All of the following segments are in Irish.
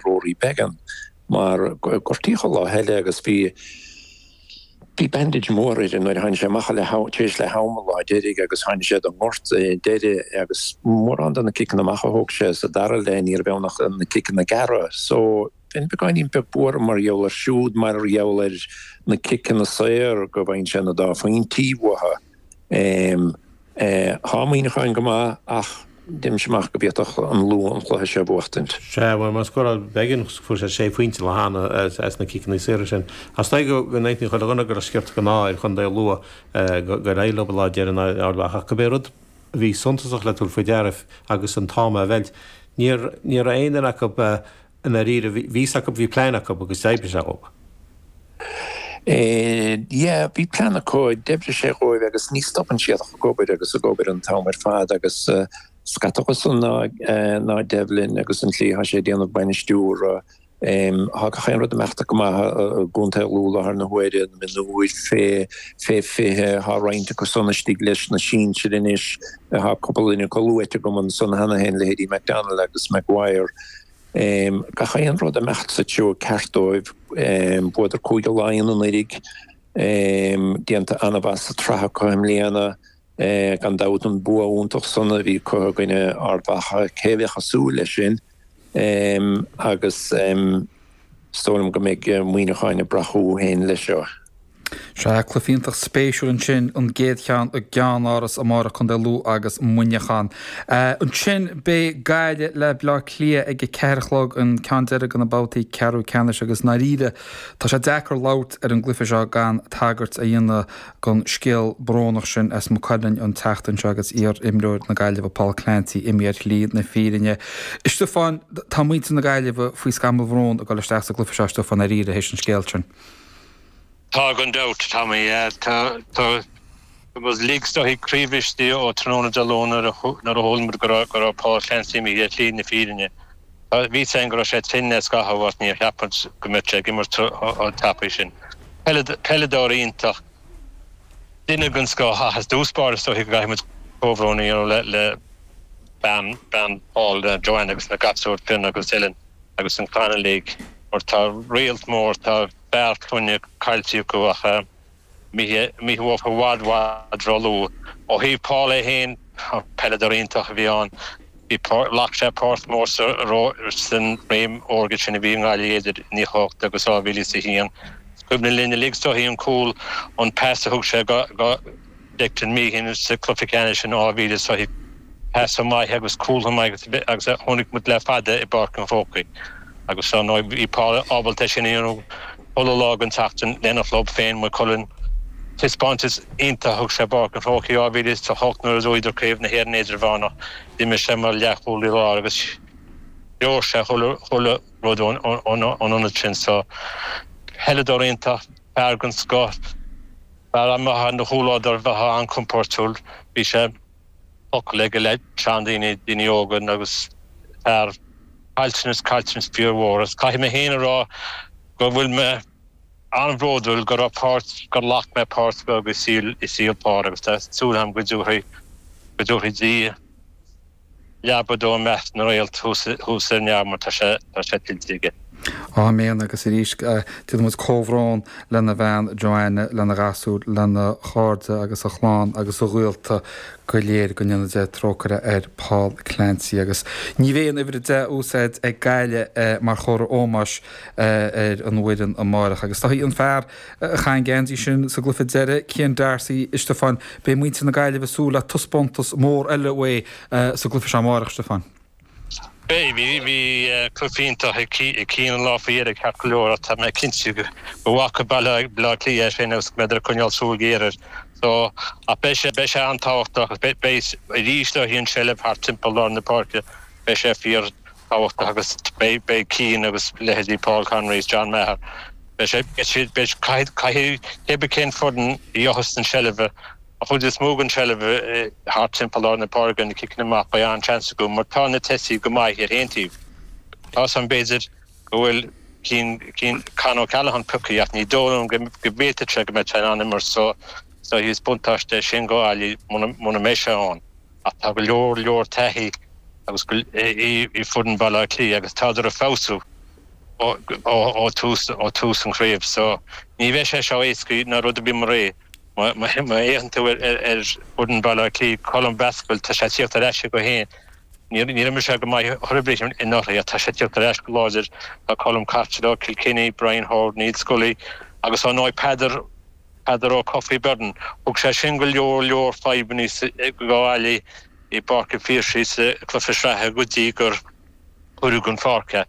Rory Beggan mar gortaíodh an lá eile agus bhí bhí bandage mór air nuair a tháinig sé amach le tar éis leath ama an lá deiridh agus tháinig sé don ngort deiridh agus mórán de na ciceanna amach a thóg sé sa dara leath ní raibh ann ach na ciceanna gearra so bheinn beagáinín beag buartha mar gheall air siúd mar gheall ar na ciceanna saor go bhfaigheann sé na dá phointí uathu. Tá Muineachán go maith ach deirimse amach go bhféadfadh an Lú an cluiche seo a bhuachtaint. Sea, bhuel, má scóráil Beggan, fuair sé sé phointe an lá cheana as na ciceanna saora sin. Ach is dóigh go n-aontaíonn chuile dhuine go raibh sciorta den ádh ar chontae Lú gur éirigh leo an lá deireanach in aghaidh Ard Mhacha. Ach cibé rud a bhí suntasach le tabhairt faoi deara agus an t-am á mheilt, ní raibh aon duine acu I ndáiríre, bhí fhios acu, bhí plean acu agus d'oibrigh sé dhóibh. Yeah, bhí plean acu, d'oibrigh sé dhóibh agus ní stopann siad ach ag obair agus ag obair an t-am ar fad agus scata acusan ná ná Devlin agus an tslí atá sé ag déanamh bainistiúra. Tá gach aon rud ag imeacht go maith i gContae Lú i láthair na huaire, na mionúir fé fé 20, tá roinnt acu san istigh leis na sinsir anois, tá cúpla duine acu luaite agam ansan cheana féin, leithéidí McDonnell agus Maguire. Gach aon rud ag imeacht sa treo ceart dóibh. Bhuadar Cúige Laighean anuraidh, déanta an-mhaith sa tsraith acu i mbliana. Gan dabht an bua iontach san a bhí acu i gcoinne Ard Mhacha, cé a bheadh ag súil leis sin? Agus is dóigh liom go mbeidh Muineachán ag brath chucu féin leis seo. Sea, cluiche iontach spéisiúil ansin, an gcéad cheann i gceannáras amárach, Contae Lú agus Muineachán. Ansin beidh Gaillimh le Bleá Cliath ag a ceathair a chlog, an ceann deiridh de na babhtaí ceathrú ceannais agus i ndáiríre tá sé deacair labhairt ar an gcluiche seo gan tagairt a dhéanamh don scéal brónach sin as Maigh Cuilinn an tseachtain seo agus iar-imreoir na Gaillimhe Paul Clancy imithe ar shlí na fírinne. A Stiofáin, tá muintir na Gaillimhe faoi scamall bhróin ag dul isteach sa gcluiche seo, a Stiofáin, dáiríre, théis an scéil sin. Tá gan dabht, Tommy. Tá tá muid uilig is dóichí croíbhriste ó tráthnóna Dé Luain nuair a nuair a chuala muid go raibh go raibh Paul Clancy imithe ar shlí na fírinne. Bhí a fhios againn go raibh sé tinn le scaitheamh ach níor cheap muid go mbeadh sé ag imirt chomh tapaidh sin. Peileadóir iontach, duine den scoth ach i dtús báire is dóichí go gcaithfidh muid comhbhrón a dhéanamh le le bean bean Paul, Joanne agus na gasúir Fionn agus Dylan agus an chlann uilig mar tá réalt mór, tá fear clainne caillte acu ach imithe uafa i bhfad i bhfad róluath. Ó thaobh Paul é féin, peileadóir iontach a bhí ann. Bhí, ghlac sé páirt mhór sa san réim órga sin a bhí i nGaillimh idir 98 agus 2001. Is cuimhin linn uilig is dóichí an cúl, an pas a thug sé go go Declan Meehan sa cluiche ceannais in 2000 is dóichí. Pas maith agus cúl maith agus a chonaic muid le fada i bPáirc an Chrócaigh. Agus ar ndóigh bhí Paul ábalta é sin a dhéanamh chuile lá den tseachtain lena chlub féin, Maigh Cuilinn. Taispeántas iontach a thug sé i bPáirc an Chrócaigh 2008 nuair a bhuadar Craobh na hÉireann Idirmheánach. D'imir sé mar leathchúlaí láir agus threoir sé chuile rud ón ionad sin. So, peileadóir iontach, fear den scoth, fear maith ina chomhluadar, bheifeá an-chompóirtiúil. Bhí sé. focal aige le seandaoine, daoine óga agus fear caillteanas, caillteanas fíormhór. Agus caithfidh mé féin a rá go bhfuil mé an-bhródúil go raibh páirt, gur ghlac mé páirt bheag i saol, i saol Paul agus tá súil agam go dtabharfaidh, go dtabharfaidh Dia leaba dó i measc na réalt thuas, thuas ar neamh mar tá sé, tá sé tuillte aige. Áiméan agus arís déanann muid comhbhrón lena bhean Joanne, lena ghasúir, lena chairde agus a chlann agus a ghaolta go léir. Go ndéana Dia trócaire ar Paul Clancy agus ní bheidh an uimhir 10 á úsáid ag Gaillimh mar chomhartha ómóis ar an bhfoireann amárach. Agus tá an fear a chaith an geansaí sin sa gcluiche deiridh, Cian D'Arcy, a Stiofáin, beidh muintir na Gaillimhe ag súil le taispeántas mór eile uaidh sa gcluiche seo amárach, Stiofáin. Beidh. Bhí cluiche iontach ag Cian an lá faoi dheireadh ceart go leor ach tá mé cinnte go bhfaca Baile Átha Cliath é sin agus go mbeidh ag coinneáil súil ghéar air. So, ach beidh sé, beidh sé an-tábhachtach agus beidh, beidh arís dóichí an tseilbh thart timpeall lár na páirce, beidh sé fíor thábhachtach agus beidh, beidh Cian agus leithéidí Paul Conroy is John Maher, beidh sé, beidh siad, beidh, caithfidh, caithfidh, cé bith cén foireann a gheobhas an tseilbh, An chuid is mó den tseilbh thart timpeall lár na páirce, na ciceanna amach, beidh an-seans acu mar tá na tosaithe go maith ar aon taobh. Tá 's agam b'fhéidir go bhfuil Cian, Cian, Con O'Callaghan pioctha ach ní dóigh liom go bhféadfadh sé go mbeadh sé in ann imirt so so is buntáiste é sin do Ghaillimh muna mbeidh sé ann. Ach tá go leor leor taithí. agus í foireann Bhaile Átha Cliath agus tádar ag feabhsú ó tús ó tús an chraobh so ní bheidh sé seo éasca ná rud ar bith mar é. Má fhéachann tú ar fhoireann Bhaile Átha Cliath, Colm Basquel, tá sé ag tíocht ar ais chuige féin. Níor imir sé go maith chor ar bith anuraidh ach tá sé ag tíocht ar ais go láidir. Tá Colm Costello, Kilkenny, Brian Howard, Niall Scully agus ar ndóigh Peadar, Peadar Ó Cofaigh Byrne. Thug sé sin go leor leor fadhbanna do Ghaillimh i bPáirc an Phiarsaigh sa chluiche sraithe go dtí gur cuireadh den pháirc é.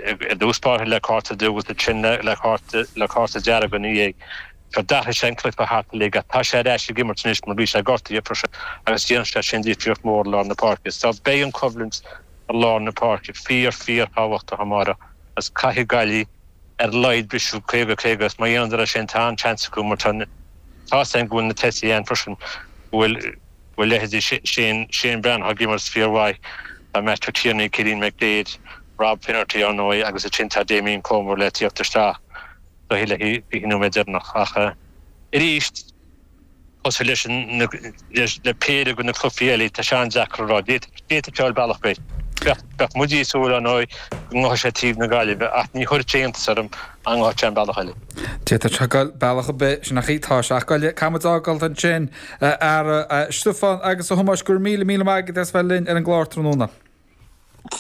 I dtús báire le cárta dubh agus ansin le cárta le cárta dearg ina dhiaidh. So d'athraigh sé an cluiche thart uilig ach tá sé ar ais ag imirt anois mar bhí sé gortaithe freisin agus déanann sé sin difríocht mhór i lár na páirce. So beidh an choimhlint i lár na páirce fíor fíor thábhachtach amárach agus caithfidh Gaillimh ar a laghad briseadh 50 50 agus má dhéanadar é sin tá an-seans acu mar tá tá's againn go bhfuil na tosaithe ann freisin go bhfuil go bhfuil leithéidí Shane Shane Breathnach ag imirt fíormhaith, tá Matthew Tierney, Cillian McDaid, Rob Finnerty ar ndóigh agus ansin tá Damien Comer le tíocht isteach do le 20 nóiméad deireanach ach arís cosúil leis an le péire de na cluichí eile tá sé an-deacair a rá. D'fhéadfadh sé dul bealach ar bith. Bheadh muid ag súil ar ndóigh go ngabhfadh sé taobh na Gaillimhe ach ní chuirfeadh sé iontas orm dá ngabhfadh sé an bealach eile. D'fhéadfadh sé dul bealach ar bith, sin é tá sé ag goil. Caithfidh muid fágáil ansin, a fheara, a Stiofáin agus a Thomáis, go raibh míle, míle maith agat as bheith linn ar an gclár tráthnóna.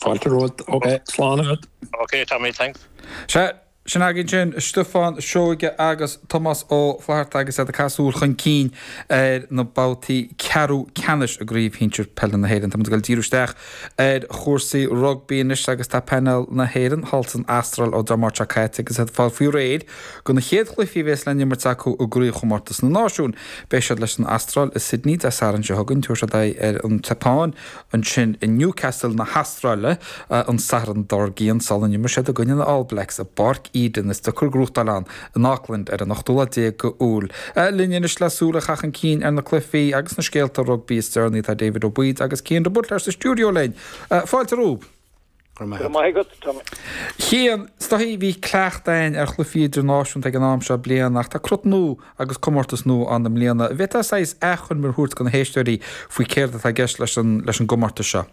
Fáilte romhat. Ok, slán agat. Ok Tommy, thanks. Sea, sin againn sin, Stiofán Seoige agus Tomás Ó Flatharta agus iad ag caitheamh súil chun cinn ar na babhtaí ceathrú ceannais i gCraobh Shinsir Peile na hÉireann. Tá muid ag dul díriú isteach ar chúrsaí rugbaí anois agus tá painéal na hÉireann thall san Astráil ó Dé Máirt seo caite agus iad ag fáil faoi réir do na chéad chluichí a bhéas le n-imirt acu i gCraobhchomórtas na Náisiún. Beidh siad leis an Astráil i Sydney Dé Sathairn seo chugainn, tabharfaidh siad aghaidh ar an tSeapáin ansin i Newcastle na hAstráile an Satharn dár gcionn sula n-imreoidh siad i gcoinne na All Blacks i bPáirc Eden is deacair gnóthachtáil ann in Auckland ar an 18ú lá d'Iúil. Linn anois le súil a chaitheamh chun cinn ar na cluichí agus na scéalta rugbaí is deireanaí tá David Ó Baoid agus Cian de Buitléar sa stiúideo linn. Fáilte romhaibh. Go raibh maith agat, Tommy. Cian, is dóichí bhí cleachtadh againn ar chluichí idirnáisiúnta ag an am seo bliana ach tá crot nua agus comórtas nua ann i mbliana. An bhféadfá saghas achoimre a thabhairt do na héisteoirí faoi céard atá i gceist leis an leis an gcomórtas seo?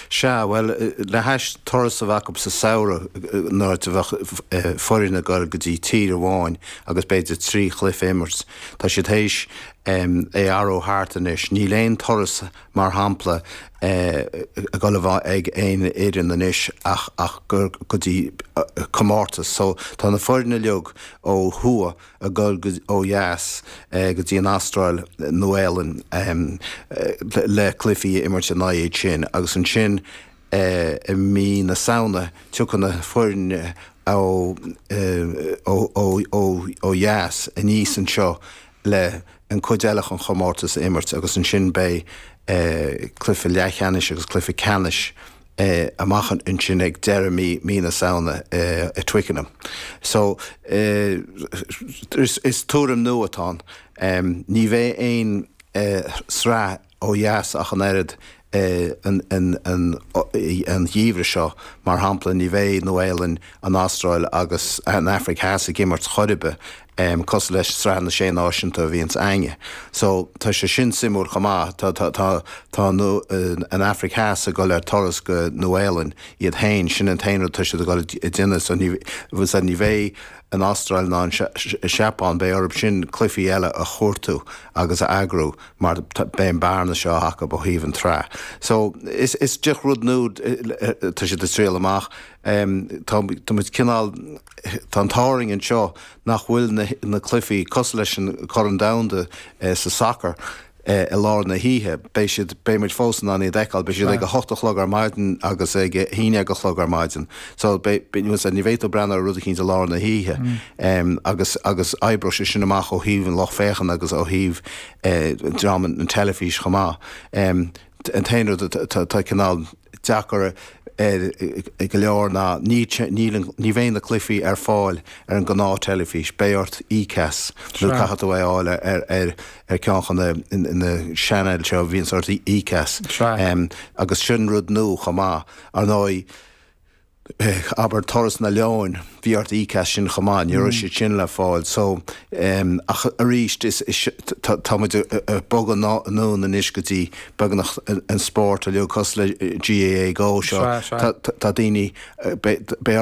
Sea, bhuel, le hais turas a bheith acu sa samhradh nuair a bheadh foireann ag dul go dtí tír amháin agus b'fhéidir 3 chluiche a imirt, tá siad théis é a athrú thart anois. Níl aon turas mar shampla, ag dul a bheith ag aon fhoireann anois ach ach go dtí comórtas. So tá na foirne uilig ó thuaidh ag dul ó dheas go dtí an Astráil, Nua-Shéalainn le cluichí a imirt in aghaidh iad sin agus ansin i mí na Samhna tiocfaidh na foirne ó ó dheas aníos anseo le an cuid eile den chomórtas a imirt agus ansin beidh cluiche leathcheannais agus cluiche ceannais amach ansin ag deireadh mí mí na Samhna i Twickenham. So is tuairim nua atá ann. Ní bheidh aon sraith ó dheas ach an oiread an geimhreadh seo. Mar shampla, ní bheidh Nua-Shéalainn, an Astráil agus an Afraic Theas ag imirt chor ar bith, cosúil leis Sraith na Sé Náisiúnta a bhíonns a'inne. So, tá sé sin suimiúil chomh maith. Tá, tá, tá, tá an Afraic Theas ag dul ar turas go Nua-Shéalainn iad féin, sin an t-aon rud atá siad ag dul a déanamh. So ní, ní bheidh an Astráil ná an Seapáin, beidh orthu sin cluichí eile a chuartú agus a eagrú. mar beidh an bearna seo acu ó thaobh an tsraith. So is is just rud nua tá siad ag triail amach. Tá tá muid cineál tá an t-ádh orainn anseo nach bhfuil na na cluichí cosúil leis an Corn Domhanda sa sacar i lár na hoíche. Beidh siad beidh muid fós in ann iad a fheiceáil. Beidh siad ag a hocht a chlog ar maidin agus ag a haon déag a chlog ar maidin. So beidh ní bheidh tú ag breathnú ar rud eicínt i lár na hoíche. Agus agus oibreoidh sé sin amach ó thaobh an lucht féachana agus ó thaobh dream an teilifís chomh maith. An t-aon rud atá cineál deacair ar go leor ná ní ní bheidh na cluichí ar fáil ar an gnáth teilifís, beidh ort ECAS nó caithfidh tú é a fháil ar ar ar ceann de na channels seo a bhíonns ort ECAS agus sin rud nua chomh maith. Ar ndóigh. Abair Turas na Leoin, bhí ort íoc as sin chomh maith, ní raibh siad sin le fáil. So, ach arís, is, tá, tá muid ag bogadh anonn anois go dtí beagnach an spórt uilig cosúil le GAA Go seo. Tá, tá daoine, beidh orm.